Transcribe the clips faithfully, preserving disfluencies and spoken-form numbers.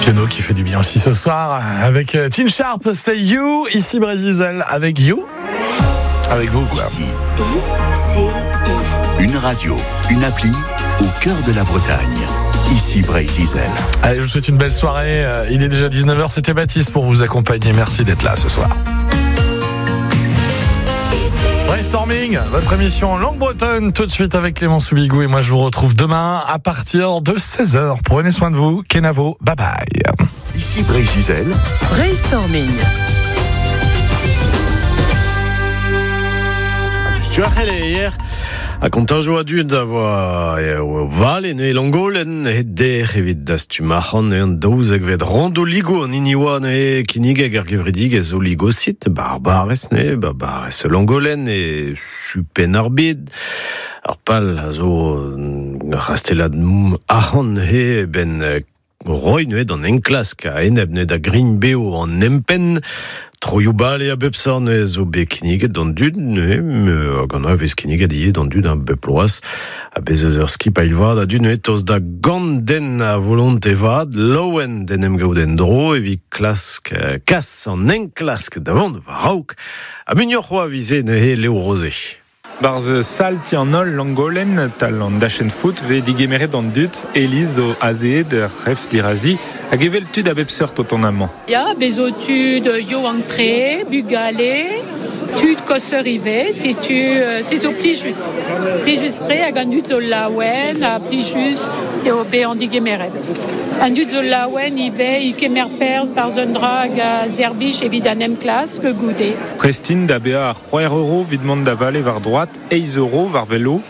Piano qui fait du bien aussi ce soir avec Tin Sharp, Stay You, ici Breizh Izel avec You. Avec vous, quoi. Ici. I C I. Une radio, une appli au cœur de la Bretagne. Ici Breizh Izel. Allez, je vous souhaite une belle soirée. Il est déjà dix-neuf heures, c'était Baptiste pour vous accompagner. Merci d'être là ce soir. Brainstorming, votre émission en langue bretonne, tout de suite avec Clément Soubigou. Et moi, je vous retrouve demain à partir de seize heures. Prenez soin de vous. Kenavo, bye bye. Ici Breizh Izel. Brainstorming. Hier a kontajo a dud a voa vale ne Langolen e der evit dastumac'han e an daouzek vet rando ligo an hini oa ne kinigeg ar gevredigez o ligosit barbarez ne barbarez Langolen e supen ar bed ar pal a zo rastelad arc'hant he ben roi ne d'an enklask a eneb ne da grign beo an empen Troioù bale a bep sort ne zo bet kinniget d'an dud ne hag an a vez kinniget ivez d'an dud an bep loaz a bez eus ur skip a ilvad a dud ne toz da gant den a volonte vad laouen den em gaout en dro evit klask kas an enklask da vont war raok a muioc'h c'hoa vize ne he Léo Rosé. Barz sal ti an holl Langolen tal an dachen foot ve digemeret an dud Elise o azeed ref dirazi hag evel tud a bep seurt o ton amañ. Ya, bezo tud yo antre, bugale, tud koseur ivez, setu se zo plijus. Plijus tre hag an dud zo laouen ha plijus eo be an digemeret. An dud zo laouen ivez i kemer perz barz un dra hag a zerbich evit an emklask goude. Prestin da bea ar c'hwec'h euro evit mont da vale war droat, eizh euro war velo.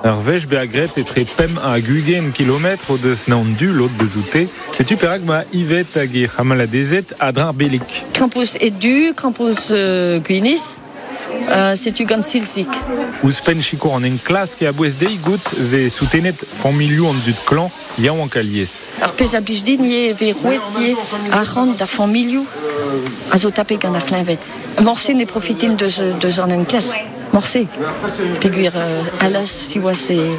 Ur wech bezañ graet etre pemp hag ugent kilometr o deus naon du lod deus oute. Setu perak ma Yvette hag he c'hamaladezed a-dreñv belik. Krampouezh ed-du, krampouezh euh, gwinizh, euh, setu gant silzik. Ouzhpenn sikour an enklask e a-bouez dezhi gout vez soutenet familhoù an dud klañv yaouank alies. Ar pezh a blij din ivez vez roet ivez arc'hant d'ar familhoù a zo tapet gant ar c'hleñved. Morse ne profitimp deus, deus an enklask. Morse. Peogwir euh, alas siwazh e,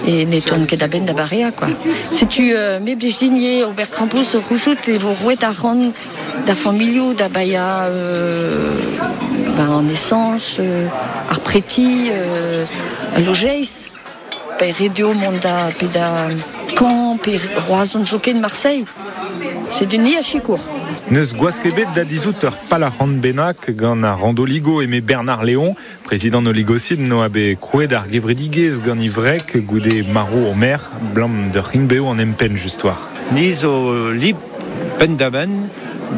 e ne tourne ket a-benn da barea, quoi. Setu euh, me blij din ivez ober krampouezh o c'houzout e vo roet arc'hant d'ar familhoù da baeañ euh, ben, an essence, euh, ar preti, euh, lojeiz. Pe ret eo mont da pe da Caen, pe Roazhon zoken Marseille. C'est du ni a sikour. Neus gwask ebet da dizout ur pal arc'hant bennak gant ar randoligo eme Bernard Léon, prezident oligocide no a bet krouet ar gevredigezh gant ivrek goude maro o mer, blam d'ur c'hinbeo an empenn just war. Ni zo lib penn-da-benn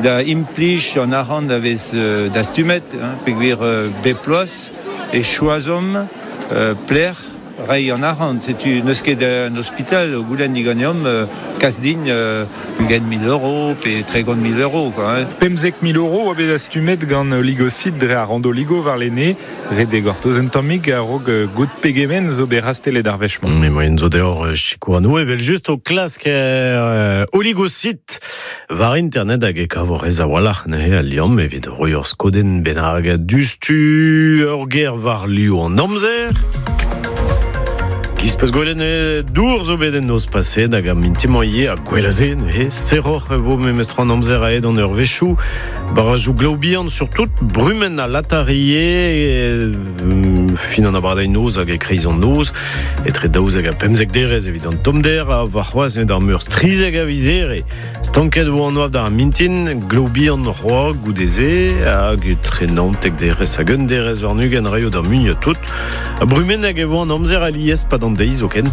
da implij an arc'hant a vez dastumet, hein, peogwir bep bloaz e choazomp euh, pler reiñ an arc'hant. Setu n'eus ket un ospital o goulenn diganeomp euh, kas din euh, ugent mil euro pe tregont mil euro, quoi, hein. Pemzek mil euro a bet dastumet gant oligocide dre ar randoligo war lene, ret eo gortoz un tammig a-raok gout pegement zo bet rastelet ar wech-mañ. Mais moyen zo deoc'h sikour an evel just o klask euh, oligocide war internet hag e kavo rez a-walc'h neuze al liamm evit roiñ ur skodenn bennak dustu ur ger war liv an amzer. Giz peus gwelet ne dour zo bet en noz paset hag a mintimañ ivez ha gwell a-se neuze serroc'h e vo memestra an amzer aet an ur wechoù barrajoù glav bihan surtout brumenn ha latarie fin an abardaez noz hag e-kreiz an noz etre daouzek ha pemzek derez evit an tommder ha warc'hoazh ne d'ar meurzh trizek a viz here stanket vo an oabl d'ar mintin glav bihan c'hoazh goude-se hag etre naontek derez hag un derez warn-ugent raio d'ar muiañ tout ha brumenn hag e vo an amzer alies pad an deiz zoken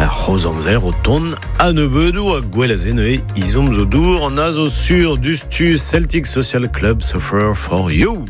ar c'hozh amzer o tont a nebeudoù ha gwell a-se neuze izomp zo dour an a zo sur dustu Celtic Social Club Suffer for You.